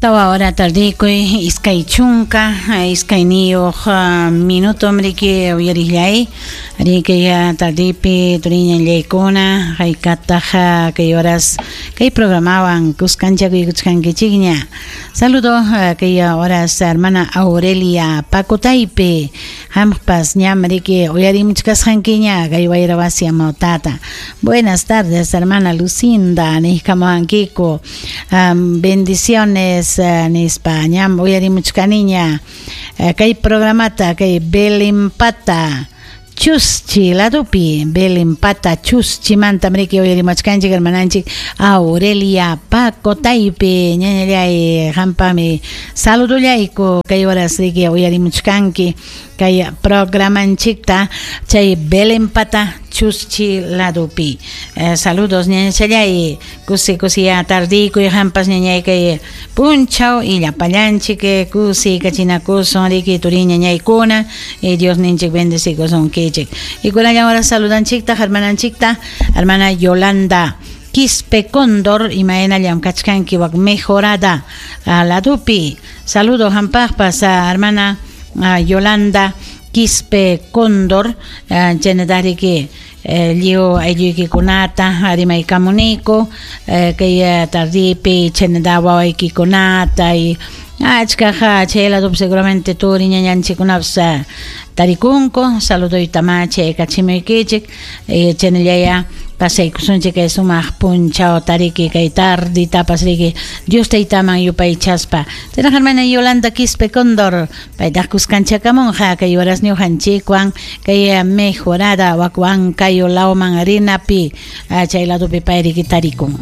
Tawa hora tardikuy 20 29 minuto mriki uyarillay riki tardipi turiñallaykuna haykataq kay horas kay programawan kuskanchakuykuchkankichikña. Saludo kay horas hermana Aurelia Pacotaypi hampas ñam riki uyarimuchkasqankiña kay wayra wasi amawtata. Buenas tardes hermana Lucinda nihkamuwankiku bendiciones nispa ñam uyarimuchkaniña kay programata kay Belimpata Chuschi ladupi Belimpata Chuschimanta mriki uyarimuchkanchik hermananchik Aurelia Pacotaypi ñañallay hampami saludullayku kay horas riki uyarimuchkanki kay programanchikta chay Belimpata Chuschi ladupi. Saludos ñañachallay kusi kusi ya tardikuy hampas ñañay kay punchaw y llapallanchik kusi kachinakusun riki turi ñañaykuna y Dios ninchik bendecikusunkichik. Y kunallan ahora saludanchikta hermananchikta hermana Yolanda Quispe Cóndor imayna llamkachkanki wak mejorada ladupi. Saludos hampaqpas hermana Yolanda Quispe Cóndor chaynataqriki lliw aylluykikunata rimaykamuniku kay tardipi chaynata wawaykikunata y achkaq chay ladupi seguramente turi ñañanchikkunapas tarikunku. Saluduyta chaykachimuykichik chaynallaya pasaykusunchik kay sumaq punchaw tariki kay tarditapas riki Dios taytaman yupaychaspa. Chayraq hermana Yolanda Quispe Cóndor paytaq kuskanchakamunqa kay horas ñuqanchikwan kay mejorada wak Huancayo lawman rinapi chay ladupi pay riki tarikun.